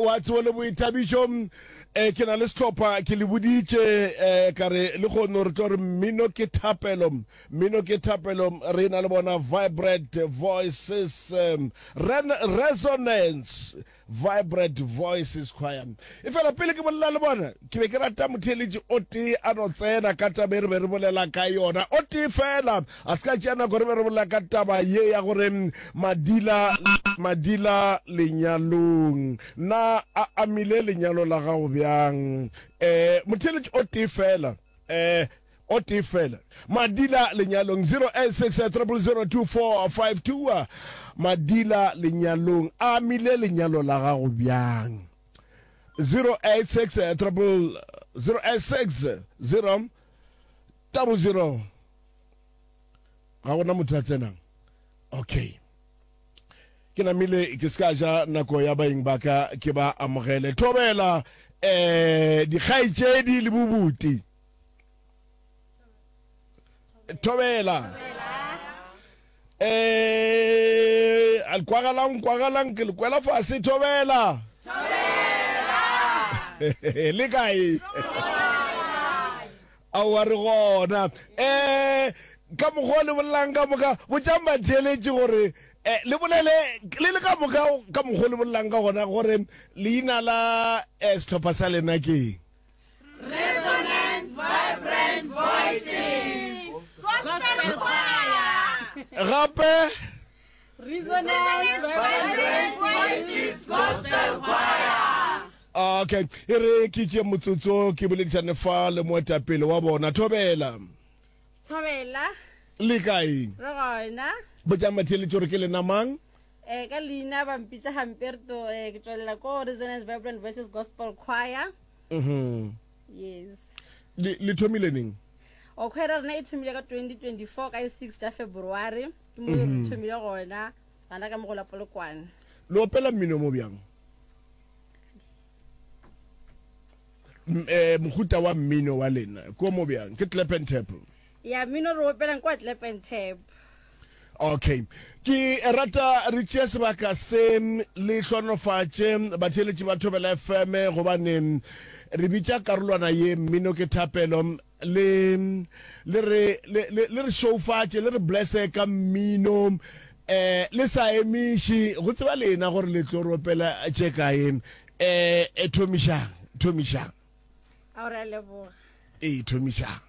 wa tsebo le boithabišo. Um ke na le sehlopha, ke le boditše um ka re le kgono re tlo re mmino ke thapelo, mmino ke thapelo. Re na le bona Vibrant Voices, um, Ren Resonance Vibrant Voices Choir. Efela pele ke bolela le bona, ke be ke rata motheeletši o tee a no tsena ka taba e re be re bolela ka yona. O tee fela, a se ka tšea nako re be re bolela ka taba ye ya gore madila, madila lenyalong. Na a amile lenyalo la gago bjang? Eh, motheeletši o tee fela, eh, O tee fela. Madila lenyalong 086 000 2452. Madila lenyalong a amile lenyalo la gago bjang? 086 086 0 00 Ga gona motho a tsenang. Okay. Ke namile ke se ka ja nako ya baeng ba ka ke ba amogele. Thobela eh dikgaetšedi le bobuti. Thobela. Eh al kwagalang kwagalang ke le kwela fase thobela. Thobela. Le kae? Aowa re gona. Eh ka mokgwa le bolelang ka moka botšang batheeletši gore eh, le bolele le le ka moka ka mokgwa le bolelang ka gona gore leina la eh, sehlopha sa lena ke eng. Resonance Vibrant Voices Gospel Choir. Gape Resonance Vibrant Voices Gospel Choir. Okay, e re ke tšee motsotso ke boledišane fa le moetapele wa bona. Thobela. Thobela. Le kae? Re gona. Botšang batheeletši gore ke lena mang? Eh, ka leina ba mpitša Hamperto, eh, ke tšwelela ko Resonance Vibrant Voices Gospel Choir. Mhm. Yes. Le, le thomile neng? O choir ya rena e thomile ka 2024 ka 6 tša February. Ke mo re mhm. thomile gona, gana ka mo go la Polokwane. Le opela mmino mo bjang? Eh, mohuta wa mmino wa lena ko mo bjang? Ke clap and tap. Ya mmino re opelang kwa clap and tap. Okay. Ke rata re tšee sebaka se le hlonofatše batheeletši ba Thobela FM gobane re bitša karolwana ye mmino ke thapelo le le re le le le re šoufatše le re blesse ka mmino eh le sa emiše go tseba lena gore le tlo ropela tše kae eh thomišang thomišang A o re a leboga. ee thomišang.